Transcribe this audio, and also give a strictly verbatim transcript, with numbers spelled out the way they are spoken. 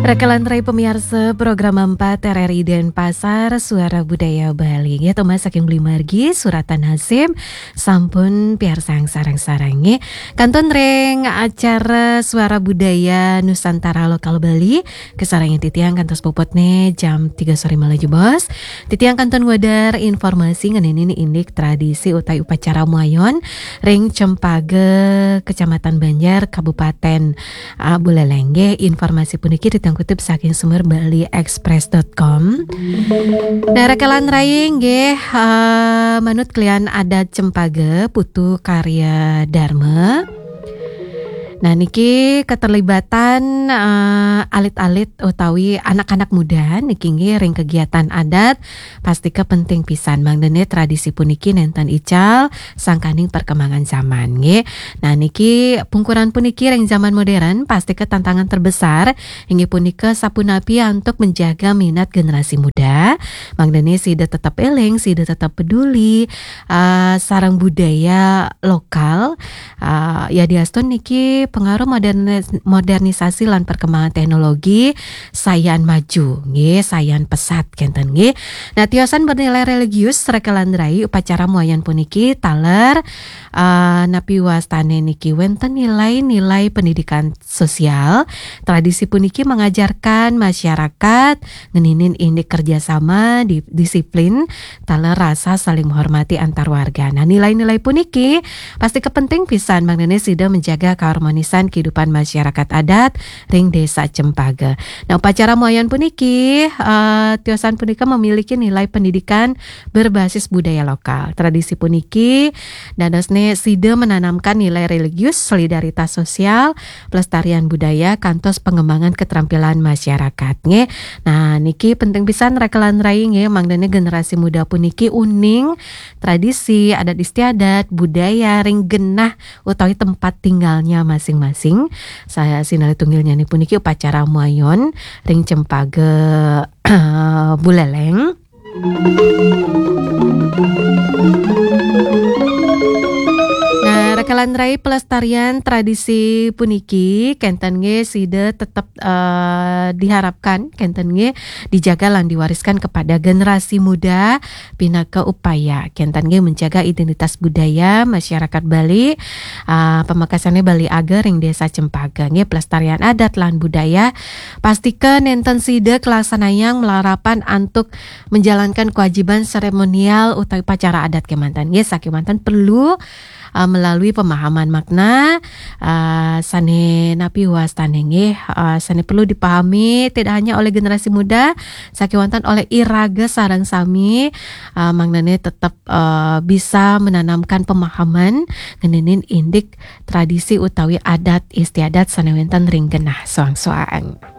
Rakalan rai pamiarsa program empat R R I Denpasar, Suara Budaya Bali. Nggih, tumbas saking Beli Margi, suratan Hasim, sampun piarsang sareng-sareng nggih. Kantun ring acara Suara Budaya Nusantara Lokal Bali, kasarengin titiang kantos puputne jam tiga sore malih jebos. Titiang kantun ngwedar informasi ngeninin indik tradisi utawi upacara muayon ring Cempage, Kecamatan Banjar, Kabupaten Ah, Buleleng nggih, informasi puniki titiang kutip saking sumber bali express dot com. Nah, rakalan rai nggih, ah, manut kalian adat Cempage Putu Karya Dharma. Nah, niki keterlibatan, ah, alit-alit utawi anak-anak muda niki nggih ring kegiatan adat pastika penting pisan mangdane tradisi puniki nenten ical sangkaning perkembangan zaman nggih. Nah, niki pungkuran puniki ring zaman modern pastika tantangan terbesar inggih punika sapunapi antuk menjaga minat generasi muda mangdane sida tetap eling, sida tetap peduli, ah, sareng budaya lokal. Ah, yadiastun niki pengaruh modernis-, modernisasi lan perkembangan teknologi sayan maju nggih, sayan pesat kenten nggih. Nah, tiosan bernilai religius rakalan rai upacara muayan puniki taler, ah, napi wastane niki wenten nilai-nilai pendidikan sosial. Tradisi puniki mengajarkan masyarakat ngeninin indik kerjasama, di-, disiplin, taler rasa saling menghormati antar warga. Nah, nilai-nilai puniki pastika penting pisan mangdane sida menjaga keharmonisan kehidupan masyarakat adat ring Desa Cempage. Nah, upacara muayan puniki, eh, tiosan punika memiliki nilai pendidikan berbasis budaya lokal. Tradisi puniki dadosne sida menanamkan nilai religius, solidaritas sosial, pelestarian budaya, kantos pengembangan keterampilan masyarakat nggih. Nah, niki penting pisan rakalan rai nggih, mangdane generasi muda puniki uning tradisi, adat istiadat, budaya ring genah utawi tempat tinggalnya masing-masing. Saya sinalih tunggilnya ni puniki upacara muayon ring Cempage Buleleng. Nah, rakalan rai pelestarian tradisi puniki kenten nggih sida tetep, eh, diharapkan kenten nggih dijaga lan diwariskan kepada generasi muda pinaka upaya kenten nggih menjaga identitas budaya masyarakat Bali, ah, pamekasane Bali Age ring Desa Cempage nggih pelestarian adat lan budaya pastika nenten sida kelaksanayang malarapan antuk menjalankan kewajiban seremonial utawi upacara adat kemanten nggih sakemanten perlu, ah, melalui pemahaman makna, ah, sane napi wastane nggih, ah, sane perlu dipahami tidak hanya oleh generasi muda, sakewanten oleh iraga sareng sami, ah, mangdane tetep, ah, bisa menanamkan pemahaman ngeninin indik tradisi utawi adat istiadat sane wenten ring genah soang-soang.